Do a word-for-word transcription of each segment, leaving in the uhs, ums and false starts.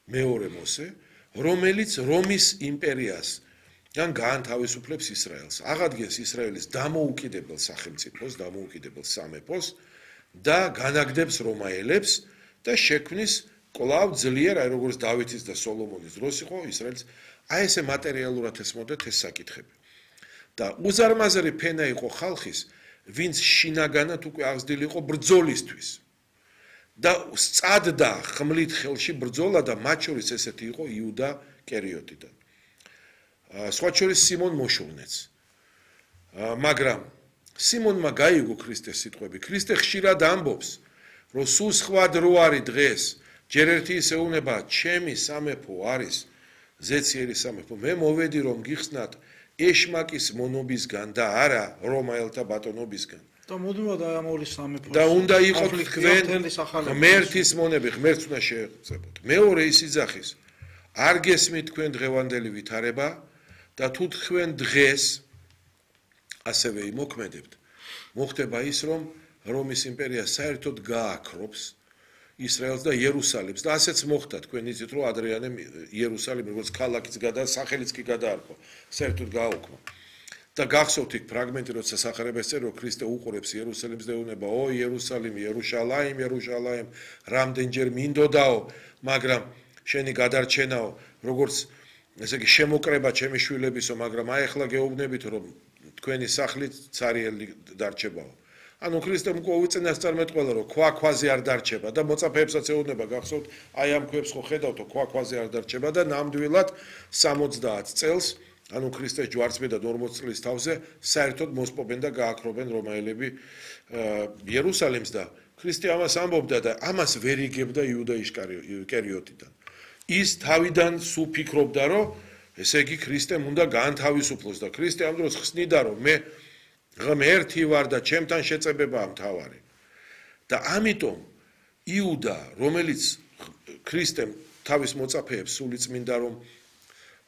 მეორე მოსე, რომელიც რომის იმპერიას ან გაანთავისუფლებს ისრაელს, აღადგენს ისრაელის დამოუკიდებელ სახელმწიფოს, დამოუკიდებელ სამეფოს და განაგდებს რომაელებს და შექმნის კვლავ ძლიერ, აი როგორც დავითის და სოლომონის დროს იყო ისრაელს, აი ესე მატერიალურად ესმოდეთ ეს საკითხები. და უზარმაზარი ფენა იყო ხალხის, ვინც შინაგანად უკვე აღზრდილი იყო ბრძოლისთვის. და სწადდა ხმლით ხელში ბრძოლა და მათ შორის ესეთი იყო იუდა კერიოტიდან. სხვა შორის სიმონ მოშოვნეც. მაგრამ სიმონმა გაიგო ქრისტეს სიტყვები. ქრისტე ხშირად ამბობს, რომ სულ სხვა დრო არის დღეს, ჯერ ერთი ის ეუბნება, ჩემი სამეფო არის ზეციერი სამეფო. მე მოვედი რომ გიხსნათ ეშმაკის მონობისგან და არა რომაელთა ბატონობისგან. და მოდიმა და ამოლის სამეფო. და უნდა იყო თქვენ ღმერთის მონები, ღმერთს უნდა შეეწებოთ. მეორე ის იძახის, არ გესმით თქვენ დღევანდელი ვითარება და თუ თქვენ დღეს ასევე იმოქმედებთ, მოხდება ის, რომ რომის იმპერია საერთოდ გააქრობს ისრაელს და იერუსალიმს და ასეც მოხდა თქვენ იცით რომ ადრიანემ იერუსალიმი როგორც ქალაქიც გადა, სახელიც კი გადაარქვა, საერთოდ გააუქმა. და გახსოვთ იქ ფრაგმენტი, როცა სახარებას წერო, ქრისტე უყურებს იერუსალიმს და ეუბნება, ო იერუსალიმი, იერუშალაიმ, იერუშალაიმ, რამდენჯერ მინდოდაო, მაგრამ შენი გადარჩენაო, როგორც ესე იგი შემოკრება ჩემი შვილებისო, მაგრამ აი ახლა გეუბნებით, რომ თქვენი სახლით цаრიელი დარჩებაო. ანუ ქრისტემ უწინასწარმეტყველა, რომ ქვა ქვაზე არ დარჩება და მოწაფეებსაც ეუბნება, გახსოვთ, აი ამ ქვებს ხო ხედავთ, ქვა ქვაზე არ დარჩება და ნამდვილად სამოცდაათ წელს ანუ ქრისტეს ჯვარცმიდან ორმოც წლის თავზე საერთოდ მოსპობენ და გააქრობენ რომაელები იერუსალიმს და ქრისტე ამას ამბობდა და ამას ვერ იგებდა იუდა ისკარიოტიდან. ის თავიდან სულ ფიქრობდა, რომ ესე იგი ქრისტემ უნდა გაანთავისუფლოს და ქრისტე ამ დროს ხსნიდა, რომ მე ღმერთი ვარ და ჩემთან შეწებებაა მთავარი. და ამიტომ იუდა, რომელიც ქრისტემ თავის მოწაფეებს სულიწმინდა რომ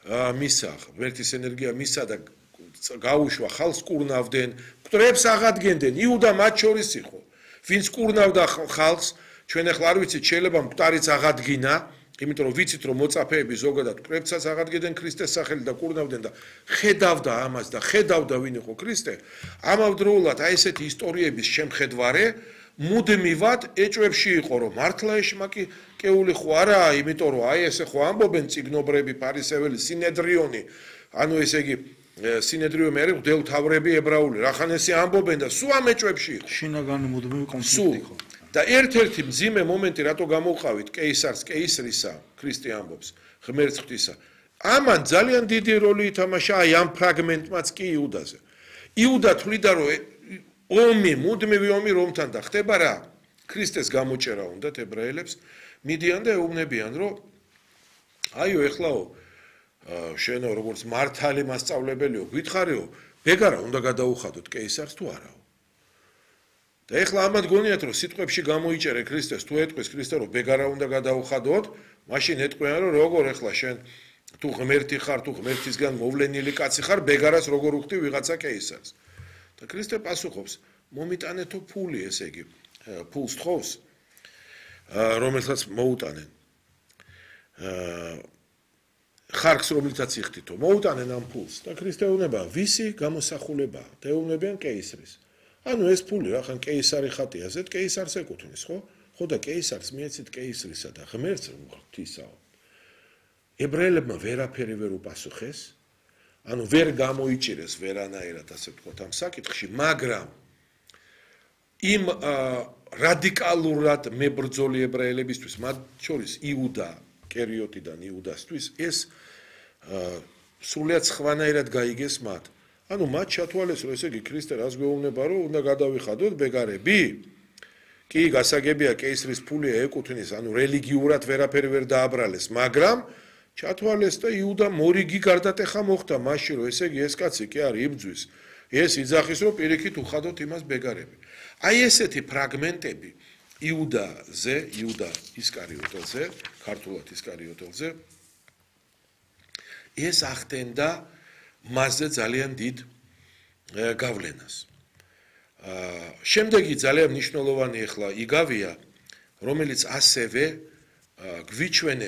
მისა, ღმერთის ენერგია მისა და გაუშვა ხალხს კურნავდნენ, მკვდრებს აღადგენდნენ, იუდა მათ შორის იყო. ვინც კურნავდა ხალხს, ჩვენ ახლა არ ვიცით, შეიძლება მკვდარიც აღადგინა, იმიტომ რომ ვიცით რომ მოწაფეები ზოგადად მკვდრებსაც აღადგენდნენ ქრისტეს სახელი და კურნავდნენ და ხედავდა ამას და ხედავდა ვინ იყო ქრისტე. ამავდროულად აი ესეთი ისტორიების შემხედვარე მუდმივად ეჭვებში იყო რომ მართლა ეშმაკი კეული ხო არაა, იმიტომ რომ აი ესე ხო ამბობენ წიგნობრები, ფარისეველი, სინედრიონი, ანუ ესე იგი სინედრიონი არის მღვდელმთავრები ებრაული, რახან ესე ამბობენ და სულ ამ ეჭვებში იყო. შინაგანი მუდმივი კონფლიქტი იყო. და ერთ-ერთი მძიმე მომენტი რატო გამოვყავით კეისარს, კეისრისა, ქრისტე ამბობს, ღმერთს ღვთისა. ამან ძალიან დიდი როლი ითამაშა აი ამ ფრაგმენტმაც კი იუდაზე. იუდა თვლიდა რომ ომი, მუდმივი ომი რომთან და ხდება რა? ქრისტეს გამოჭერა უნდათ ებრაელებს, მიდიან და ეუბნებიან, რომ აიო, ეხლაო, შენო როგორც მართალი მასწავლებელიო, გითხარიო, ბეგარა უნდა გადაუხადოთ კეისარს თუ არაო? და ეხლა ამათ გონიათ, რომ სიტყვებში გამოიჭერე ქრისტეს, თუ ეტყვის ქრისტე, რომ ბეგარა უნდა გადაუხადოთ, მაშინ ეტყვიან, რომ როგორ ეხლა შენ თუ ღმერთი ხარ, თუ ღმერთისგან მოვლენილი კაცი ხარ, ბეგარას როგორ უხდი ვიღაცა კეისარს? და ქრისტე პასუხობს, მომიტანეთო ფული, ესე იგი, ფულს თხოვს, რომელსაც მოუტანენ. ხარკს რომლითაც იხდითო, მოუტანენ ამ ფულს და ქრისტე ეუბნება, ვისი გამოსახულებაა? და ეუბნებიან კეისრის. ანუ ეს ფული რა, ხან კეისარი ხატია, ზედ კეისარს ეკუთვნის, ხო? ხო და კეისარს მიეცით კეისრისა და ღმერთს რომ ღვთისაო. ებრაელებმა ვერაფერი ვერ უპასუხეს, ანუ ვერ გამოიჭირეს ვერანაირად ასე ვთქვათ ამ საკითხში, მაგრამ იმ რადიკალურად მებრძოლი ებრაელებისთვის, მათ შორის იუდა კერიოტიდან იუდასთვის ეს სრულიად სხვანაირად გაიგეს მათ. ანუ მათ ჩათვალეს, რომ ესე იგი ქრისტე რას გვეუბნება, რომ უნდა გადავიხადოთ ბეგარები? კი, გასაგებია კეისრის ფული ეკუთვნის, ანუ რელიგიურად ვერაფერი ვერ დააბრალეს, მაგრამ ჩათვალეს და იუდა მორიგი გარდატეხა მოხდა მაშინ, რომ ესე იგი ეს კაცი კი არის იბძვის. ეს იძახის, რომ პირიქით უხადოთ იმას ბეგარები. აი ესეთი ფრაგმენტები იუდაზე, იუდა ისკარიოტელზე, ქართულად ისკარიოტელზე, ეს ახდენდა მასზე ძალიან დიდ გავლენას. შემდეგი ძალიან მნიშვნელოვანი ახლა იგავია, რომელიც ასევე გვიჩვენებს